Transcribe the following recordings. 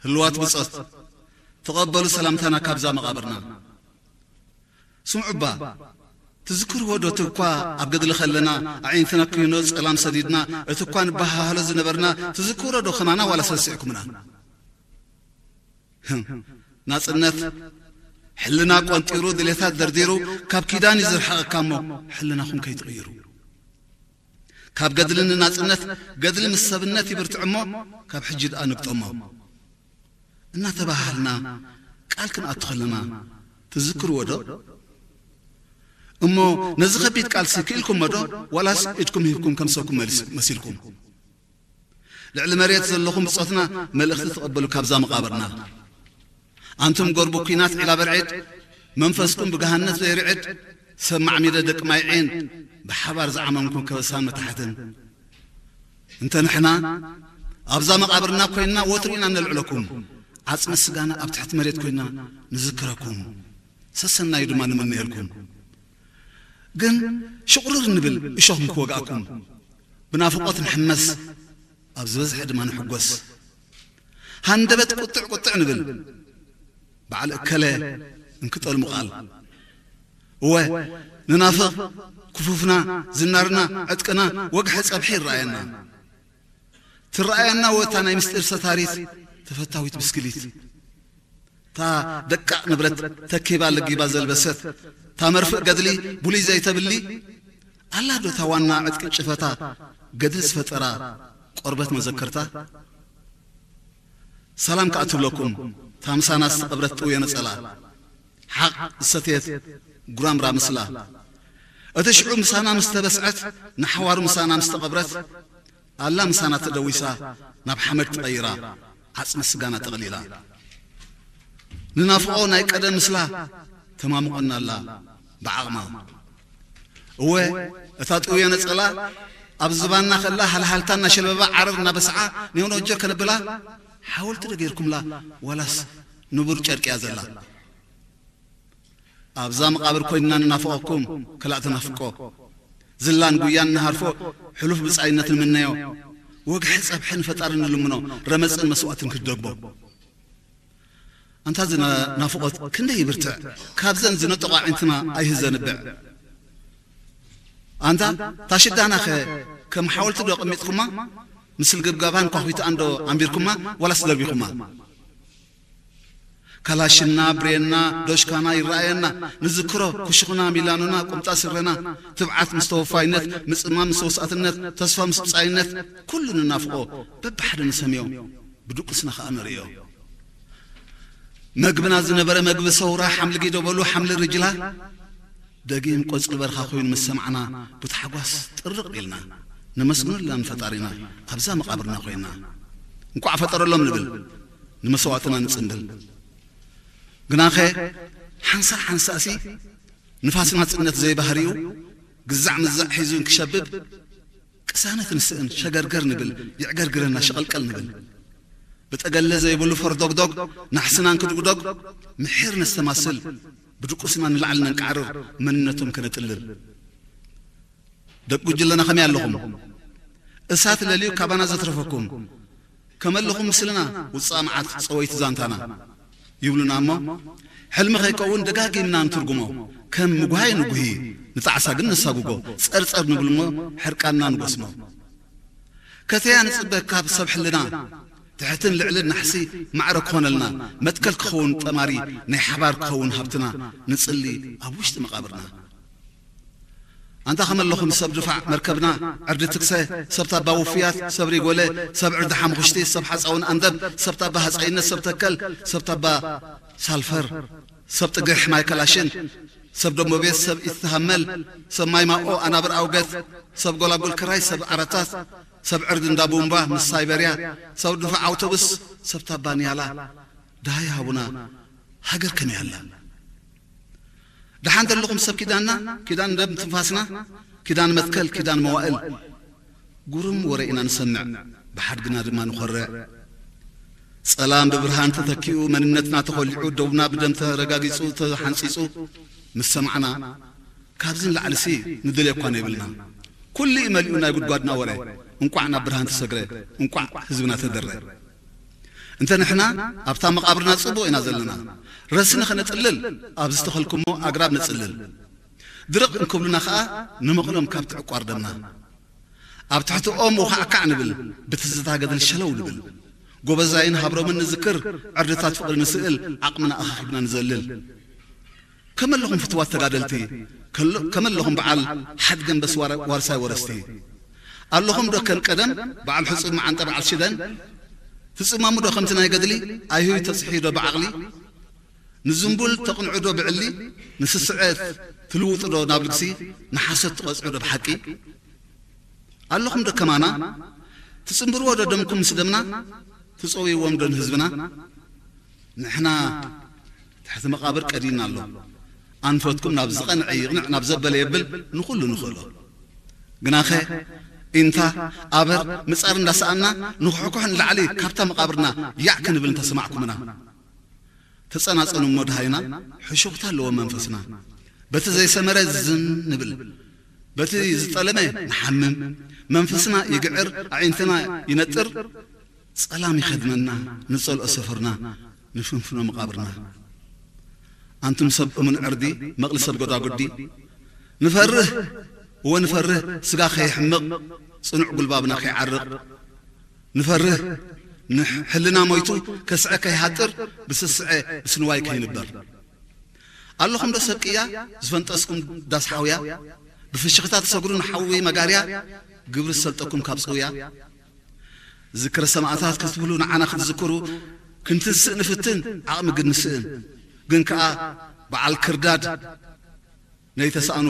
ህልዋት ብጾት፣ ተቐበሉ ሰላምታና ካብዛ መቓብርና። ስምዑባ፣ ትዝክርዎ ዶ እቲ እኳ ኣብ ገድሊ ከለና ኣዒንትና ኩይኖ ጸላም ሰዲድና፣ እቲ እኳ ንበሃሃሎ ዝነበርና ትዝክሮ ዶ ከማና ዋላ ሰሲዕኩምና? ህም፣ ናጽነት ሕልና ቆንጢሩ ድሌታት ደርዲሩ ካብ ኪዳን እዩ ዝርሕቐካ እሞ ሕልናኹም ከይትቕይሩ። ካብ ገድሊ ንናጽነት ገድሊ ምስ ሰብነት ይብርትዕ እሞ ካብ ሕጂ ደኣ ንግጠሞ። እናተባሃልና ቃል ክንኣቱ ከለና ትዝክርዎ ዶ? እሞ ነዚ ከቢድ ቃልሲ ክኢልኩሞ ዶ? ዋላስ ኢድኩም ሂብኩም ከም ሰብኩም መሊስ-፣ መሲልኩም? ልዕሊ መሬት ዘለኹም ብጾትና መልእኽቲ ተቐበሉ ካብዛ መቓብርና። ኣንቱም ጎርቡ ኲናት ዒላ በርዒድ፣ መንፈስኩም ብገሃነት ዘይርዕድ፣ ሰብ ማዕሚደ ደቂ ማይ ዒን፣ ብሓባር ዝዓመምኩም ከበሳን መታሕትን። እንተ ንሕና ኣብዛ መቓብርና ኮይንና ወትሩ ኢና ነልዕለኩም፣ ዓጽሚ ስጋና ኣብ ትሕቲ መሬት ኮይንና ንዝክረኩም፣ ሰሰናዩ ድማ ንምነየልኩም። ግን ሽቑርር ንብል እሾኽ ንክወግኣኩም፣ ብናፍቖት ንሕመስ፣ ኣብ ዝበዝሐ ድማ ንሕጎስ። ሃንደበት ቁጥዕ ቁጥዕ ንብል፣ በዓል እከለ እንክጠልሙ ቃል። እወ፣ ንናፍቕ ክፉፍና፣ ዝናርና፣ ዕጥቅና፣ ወግሐ ጸብሒ ይረኣየና። ትረኣየና ወታ ናይ ምስጢር ሰታሪት ተፈታዊት ብስክሊት። እታ ደቃቕ ንብረት ተኪባ ለጊባ ዘልበሰት፣ እታ መርፍእ ገድሊ ብሉይ ዘይተብሊ፣ ኣላ ዶ እታ ዋና ዕጥቂ ጭፈታ ገድሊ ዝፈጠራ ቆርበት መዘከርታ? ሰላም ከኣ ትብለኩም፣ እታ ምሳና ዝተቐብረት ጥውየ ነጸላ፣ ሓቕ ዝሰተየት ጉራምራ ምስላ። እቲ ሽዑ ምሳና ምስ ተበስዐት፣ ንሓዋሩ ምሳና ምስ ተቐብረት፣ ኣላ ምሳና ተደዊሳ፣ ናብ ሓመድ ተቐይራ፣ ዓጽሚ ስጋና ጠቕሊላ። ንናፍቖ ናይ ቀደም ምስላ ተማምቖና ኣላ ብዓቕማ። እወ፣ እታ ጥውየ ነጸላ ኣብ ዝባንና ከላ ሃልሃልታ እናሸለበባ ዓረር እናበስዓ ኔውኖጀ ከነብላ ሓወልቲ ዶ ጌርኩምላ ዋላስ ንቡር ጨርቂ እያ ዘላ? ኣብዛ መቓብር ኮይንና ንናፍቐኩም ከላእ ተናፍቆ። ዝላን ጉያን ንሃርፎ ሕሉፍ ብጻይነት ንምነዮ። ወግሒ ጸብሒ ንፈጣሪ ንልምኖ ረመጽን መስዋእትን ክደግቦ። ኣንታ እዚ ና-፣ ናፍቖት ክንደይ ይብርትዕ፣ ካብዘን ዝነጠቑ ኣዒንትና ኣይህዘንብዕ። ኣንታ ታሽዳናኸ ከም ሓወልቲ ዶ ኣቐሚጥኩማ? ምስል ግብጋባን ኳኹይትኣን ዶ ኣንቢርኩማ ዋላስ ደርቢኹማ? ካላሽና፣ ብሬንና፣ ዶሽካና ይረኣየና፣ ንዝክሮ ኩሽኹና፣ ሚላኖና፣ ቁምጣ ስረና፣ ትብዓት ምስ ተወፋይነት፣ ምጽማም ምስ ተወሳእትነት፣ ተስፋ ምስ ብጻይነት፣ ኩሉ ንናፍቖ በብሓደ ንሰምዮ፣ ብድቁስና ኸኣ ንርእዮ። መግብና ዝነበረ መግቢ ሰውራ፣ ሓምሊ ጊዶ በሉ፣ ሓምሊ ርጅላ፣ ደጊም ቆጽሊ በርኻ ኮይኑ ምስ ሰማዕና፣ ብታሕጓስ ጥርቕ ኢልና፣ ነመስግነላ ንፈጣሪና፣ ኣብዛ መቓብርና ኮይንና። እንቋዕ ፈጠረሎም ንብል፣ ንመስዋእትና ንጽንብል። ግናኸ፣ ሓንሳእ ሓንሳእሲ፣ ንፋስ ናጽነት ዘይባህሪኡ፣ ግዛዕ ምዛዕ ሒዙ እንክሸብብ፣ ቅሳነት ንስእን፣ ሸገርገር ንብል፣ ይዕገርግረና፣ ሸቐልቀል ንብል። ብጠገለ ዘይብሉ ፈርዶግዶግ፣ ናሕስና እንክድጉዶግ፣ ምሒር ነስተማስል፣ ብድቁስና ንላዕሊ ነንቃዕርር፣ መንነቶም ከነጥልል። ደቂ ጉጅለና ከመይ ኣለኹም? እሳት ለልዩ ካባና ዘትረፈኩም፣ ከመለኹም ምስልና ውጻእ መዓት ጸወይቲ ዛንታና ይብሉና እሞ፣ ሕልሚ ከይከውን ደጋጊምና ንትርጉሞ። ከም ምጉሃይ ንጉሂ፣ ንጣዕሳ ግን ነሳጉጎ። ጸርጸር ንብል እሞ፣ ሕርቃንና ንጎስሞ። ከተያ ንጽበ ካብ ሰብ ሕልና፣ ትሕትን ልዕልን ናሕሲ ማዕረ ክኾነልና፣ መትከል ክኸውን ጠማሪ፣ ናይ ሓባር ክኸውን ሃብትና፣ ንጽሊ ኣብ ውሽጢ መቓብርና። ኣንታ ከመለኹም ሰብ ድፋዕ መርከብና፣ ዕርዲ ትክሰ፣ ሰብ ታባ ውፍያት፣ ሰብ ሪጎለ፣ ሰብ ዕርዲ ሓሙኽሽቲ፣ ሰብ ሓፃውን ኣንደብ፣ ሰብ ታባ ሃፀይነት፣ ሰብ ተከል፣ ሰብ ታባ ሳልፈር፣ ሰብ ጥግሕ ማይ ከላሽን፣ ሰብ ደሞቤት፣ ሰብ ኢትትሃመል፣ ሰብ ማይ ማኦ፣ ኣናብር ኣውገት፣ ሰብ ጎላጉል ክራይ፣ ሰብ ዓረታት፣ ሰብ ዕርዲ እንዳ ቡምባ ምስ ሳይበርያ፣ ሰብ ድፋዕ ኣውቶቡስ፣ ሰብ ታባ ንያላ፣ ደሃይ ሃቡና፣ ሃገር ከመይ ኣላ? ደሓን ዘለኹም ሰብ ኪዳንና፣ ኪዳን ደም ትንፋስና፣ ኪዳን መትከል፣ ኪዳን መዋእል። ጉሩም ወረ ኢና ንሰምዕ፣ ብሓድግና ድማ ንኾርዕ። ጸላም ብብርሃን ተተኪኡ፣ መንነትና ተኾሊዑ፣ ደውና ብደም ተረጋጊጹ፣ ተሓንጺጹ ምስ ሰማዕና፣ ካብዚ ንላዕሊሲ ንደልዮ እኳ ነይብልና። ኩሉ እዩ መሊኡ ናይ ጉድጓድና ወረ። እንቋዕ ናብ ብርሃን ተሰግረ፣ እንቋዕ ህዝብና ተደረ። እንተ ንሕና ኣብታ መቓብርና ጽቡቕ ኢና ዘለና። ረስኒ ኸነጽልል ኣብ ዝተኸልኩሞ ኣግራብ ነጽልል። ድርቕ እንክብሉና ኸኣ ንመቕሎም ካብቲ ዕቋር ደምና። ኣብ ትሕቲ ኦም ወኻዕካዕ ንብል፣ ብትዝታ ገድሊ ሸለው ንብል። ጎበዛይን ሃብሮምን ንዝክር፣ ዕርድታት ፍቕሪ ንስእል፣ ዓቕምና ኣኻኺብና ንዘልል። ከመለኹም ፍትዋት ተጋደልቲ፣ ከሎ-፣ ከመለኹም በዓል ሓድገንበስ ዋር-፣ ዋርሳይ ወረስቲ። ኣለኹም ዶ ከም ቀደም በዓል ሕጹብ መዓንጠ በዓል ሽደን? ትጽመሙ ዶ ከምቲ ናይ ገድሊ? ኣይሁይ ተጽሕዩ ዶ ብዓቕሊ? ንዝንቡል ተቕንዑ ዶ ብዕሊ? ንስስዐ ትልውጡ ዶ ናብ ልግሲ? ንሓሶት ትቐጽዑ ዶ ብሓቂ? ኣለኹም ዶ ከማና? ትጽንብርዎ ዶ ደምኩም ምስ ደምና? ትጸውይዎም ዶ ንህዝብና? ንሕና ትሕቲ መቓብር ቀዲና ኣሎ። ኣንፈትኩም ናብ ዝቐንዐ ይቕንዕ፣ ናብ ዘበለ የብል፣ ንኹሉ ንኽእሎ። ግናኸ ኢንታ ኣበር ምጻር እንዳሰኣና ንኹሕኩሕ ንላዕሊ ካብታ መቓብርና ያዕ ክንብል እንተሰማዕኩምና። ተጸናጸኑ እሞ ደሃይና፣ ሕሹኽታ ኣለዎ መንፈስና። በቲ ዘይሰመረ ዝን ንብል፣ በቲ ዝጠለመ ንሓምም። መንፈስና ይግዕር፣ ኣዒንትና ይነጥር፣ ጸላም ይኸድነና፣ ንጸልኦ ሰፈርና፣ ንፍንፍኖ መቓብርና። ኣንቱም ሰብ እሙን ዕርዲ፣ መቕሊ ሰብ ጎዳጉዲ፣ ንፈርህ፣ እወ ንፈርህ፣ ስጋ ከይሕምቕ፣ ጽኑዕ ጉልባብና ከይዓርቕ፣ ንፈርህ፣ ንሕልና ሞይቱ ከስዐ ከይሃጥር፣ ብስስዐ ብስንዋይ ከይንበር። ኣለኹም ዶ ሰብ ቅያ ዝፈንጠስኩም ዳስ ሓውያ፣ ብፍሽኽታ ትሰግሩ ንሓዊ መጋርያ፣ ግብሪ ዝሰልጠኩም ካብ ጽውያ? ዝክረ ሰማእታት ክትብሉ ንዓና ክትዝክሩ፣ ክንትንስእ ንፍትን፣ ዓቕሚ ግን ንስእን። ግን ከኣ በዓል ክርዳድ ነይተሳእኑ፣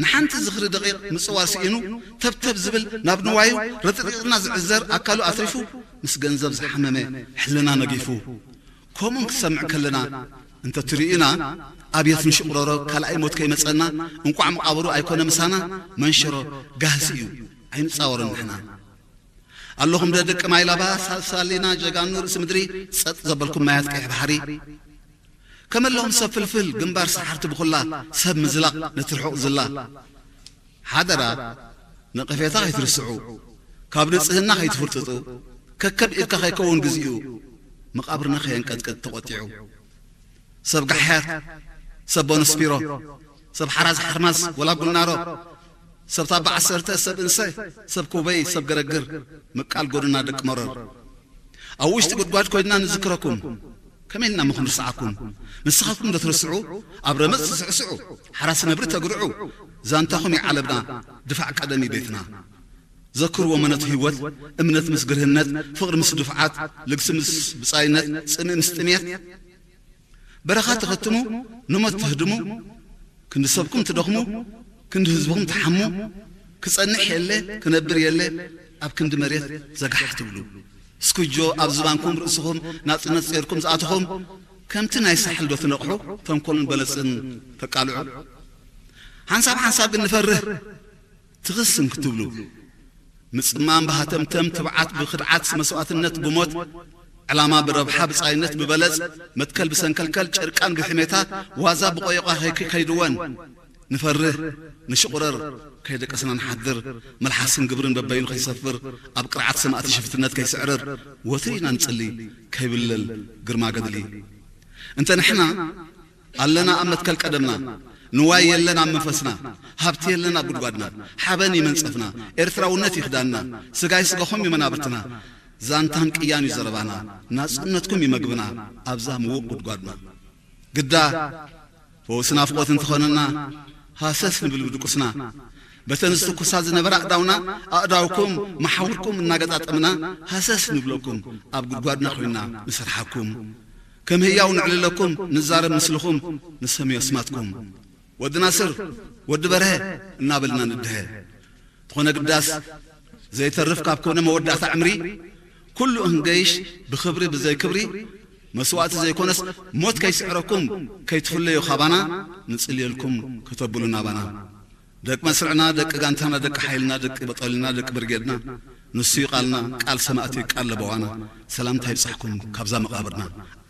ንሓንቲ ዝኽሪ ደቂቕ ምጽዋር ስኢኑ፣ ተብተብ ዝብል ናብ ንዋዩ ረጥሪጥና ዝዕዘር ኣካሉ ኣትሪፉ፣ ምስ ገንዘብ ዝሓመመ ሕልና ነጊፉ። ከምኡን ክሰምዕ ከለና እንተ ትርእዩና፣ ኣብየት ንሽቑረሮ ካልኣይ ሞት ከይመጸና፣ እንቋዕ መቓብሩ ኣይኮነ ምሳና፣ መንሸሮ ጋህሲ እዩ፣ ኣይንጻወርን ንሕና። ኣለኹም ዶ ደቂ ማይ ላባ፣ ሳልሳሊና ጀጋኑ ርእሲ ምድሪ፣ ጸጥ ዘበልኩም ማያት ቀይሕ ባሕሪ? ከመለኹም ሰብ ፍልፍል፣ ግንባር ሰሓርቲ ብኹላ፣ ሰብ ምዝላቕ ነቲ ርሑቕ ዝላ። ሓደራ፣ ነቐፌታ ከይትርስዑ፣ ካብ ንጽህና ከይትፍርጥጡ፣ ከከም ኢድካ ከይከውን ግዚኡ፣ መቓብርና ከየንቀጥቅጥ ተቖጢዑ። ሰብ ጋሕያት፣ ሰብ ቦነስፒሮ፣ ሰብ ሓራዝ ሓርማዝ ወላ ጉልናሮ፣ ሰብ ታባ ዓሰርተ፣ ሰብ እንሰ፣ ሰብ ኩበይ፣ ሰብ ገረግር፣ ምቃል ጎድና ደቂ መረር። ኣብ ውሽጢ ጉድጓድ ኮይንና ንዝክረኩም፣ ከመይ ኢልና እሞ ክንርስዓኩም? ንስኻትኩም ዶ ትርስዑ? ኣብ ረመጽ ትስዕስዑ፣ ሓራስ ነብሪ ተግርዑ፣ ዛንታኹም እዩ ዓለምና፣ ድፋዕ ቀደም እዩ ቤትና። ዘክርዎ መነቱ ህይወት፣ እምነት ምስ ግርህነት፣ ፍቕሪ ምስ ድፍዓት፣ ልግሲ ምስ ብጻይነት፣ ጽምኢ ምስ ጥሜት፣ በረኻ ትኸትሙ፣ ንሞት ትህድሙ፣ ክንዲ ሰብኩም ትደኽሙ፣ ክንዲ ህዝብኹም ትሓሙ፣ ክጸንሕ የለ፣ ክነብር የለ፣ ኣብ ክንዲ መሬት ዘጋሕ ትብሉ። ስኩጆ ኣብ ዝባንኩም ርእስኹም ናጽነት ጼርኩም ዝኣተኹም፣ ከምቲ ናይ ሳሕል ዶ ትነቕሑ፣ ተንኮልን በለጽን ተቃልዑ። ሓንሳብ ሓንሳብ ግን ንፈርህ፣ ትኽስን ክትብሉ። ምጽማም ብሃተምተም፣ ትብዓት ብኽድዓት፣ መስዋእትነት ብሞት፣ ዕላማ ብረብሓ፣ ብጻይነት ብበለጽ፣ መትከል ብሰንከልከል፣ ጨርቃን ብሕሜታ፣ ዋዛ ብቆየቋ ከይክ-፣ ከይድወን። ንፈርህ፣ ንሽቑረር፣ ከይደቀስና ንሓድር፣ መልሓስን ግብርን በበይኑ ከይሰፍር፣ ኣብ ቅርዓት ሰማእቲ ሽፍትነት ከይስዕርር፣ ወትሩ ኢና ንጽሊ፣ ከይብለል ግርማ ገድሊ። እንተ ንሕና ኣለና ኣብ መትከል ቀደምና፣ ንዋይ የለን ኣብ መንፈስና፣ ሃብቲ የለን ኣብ ጉድጓድና፣ ሓበን እዩ መንጸፍና፣ ኤርትራውነት እዩ ክዳንና፣ ስጋይ ስጋኹም እዩ መናብርትና፣ ዛንታን ቅያን እዩ ዘረባና፣ ናጽነትኩም እዩ መግብና፣ ኣብዛ ምዉቕ ጉድጓድና። ግዳ ፈውሲ ናፍቖት እንተኾነና፣ ሃሰስ ንብል ብድቁስና። በተን ዝትኩሳ ዝነበራ ኣእዳውና፣ ኣእዳውኩም፣ መሓውርኩም እናገጣጠምና፣ ሃሰስ ንብለኩም፣ ኣብ ጉድጓድና ኮይና ንሰርሓኩም። ከም ህያው ንዕልለኩም፣ ንዛረብ ምስልኹም፣ ንሰምዮ ኣስማትኩም። ወዲ ናስር፣ ወዲ በርሀ እናበልና ንድሀ። ተኾነ ግዳስ ዘይተርፍ ካብ ኮነ መወዳእታ ዕምሪ፣ ኩሉ እንገይሽ ብኽብሪ ብዘይ ክብሪ፣ መስዋእቲ ዘይኮነስ ሞት ከይስዕረኩም፣ ከይትፍለዩ ካባና፣ ንጽልየልኩም ከተብሉ ናባና። ደቂ መስርዕና፣ ደቂ ጋንታና፣ ደቂ ሓይልና፣ ደቂ በጦሊና፣ ደቂ ብርጌድና፣ ንሱ እዩ ቃልና፣ ቃል ሰማእቲ፣ ቃል ለበዋና። ሰላምታ ይብጻሕኩም ካብዛ መቓብርና።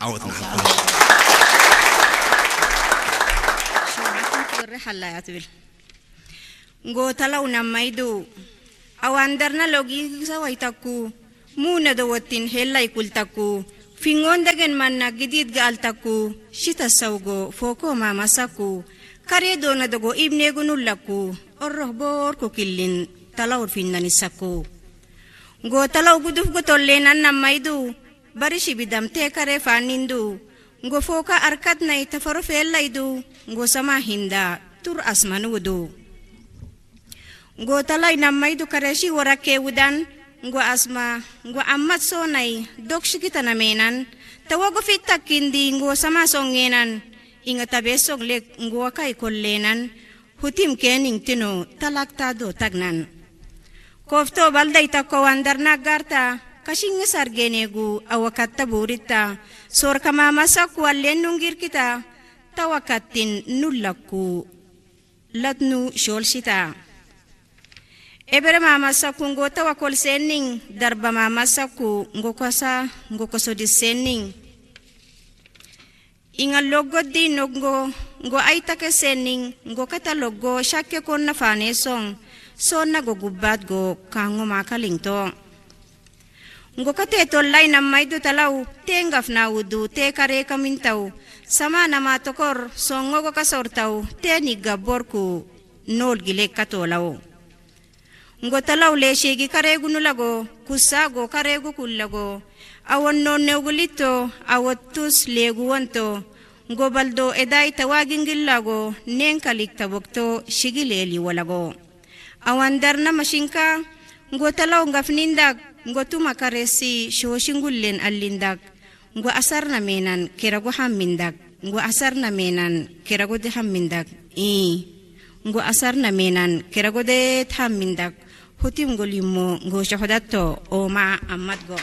ዓወት ንሓፋሽ። ሸዊትን ክብሪ ሓላያ ትብል። ጎተላው ናማይዱ ኣዋንደርና ሎጊ ግሰ ዋይታኩ፣ ሙነ ደወቲን ሄላይ ኩልታኩ፣ Fingoon dagen manna gidiid ga'altakku, shita sawgo fookoo maamasakku, karee doona dogo ibneegu nullakku, orroh boorku killin talawr finnanissakku. Ngo talaw guduf gotolleenan nammaydu, bari shibidam tee karee faannindu, ngo fooka arkatnay tafaro feellaydu, ngo samaa hinda tur asmanuudu. Ngo talay nammaydu kareshi worakkee wudan, ngo asma, ngo ammat soonay dok shikita nameenan, tawago fittakkindi ngo samaa songeenan, inga tabeessog lek ngo wakay kolleenan, hutim keening tino talakta do tagnan. Kofto balday takko wandarna garta, kashingi sargenegu awakatta buritta, sorka mama sakku allen nungirkita, tawakattin nullakku latnu sholshita. Ebere mama sakku ngo tawakol senning, darba mama sakku ngo kosa, ngo kosodis senning. Inga loggo di noggo, ngo aitake senning, ngo kata loggo shakke konna fane song, sonna go gubbat go kango makalingto. Ngo kate tollay nammaydu talaw, te ngafna wudu, te kare kamintaw, sama nama tokor, songo go kasortaw, te nigga borku, nol gilek katolaw. Ngo talaw leshegi karegu nulago, kusago karegu kullago, awon nonnegu litto, awottus legu wonto, ngo baldo eday tawagingillago, nenkalik tabokto shigi leli walago. Awan darna mashinka, ngo talaw ngafnindak, ngo tuma karesi shoshingullen allindak, ngo asarna menan kerago hammindak, ngo asarna menan kerago de hammindak, i, ngo asarna menan kerago de hammindak, hutim ngo limmo ngo shohodatto, oma ammatgo.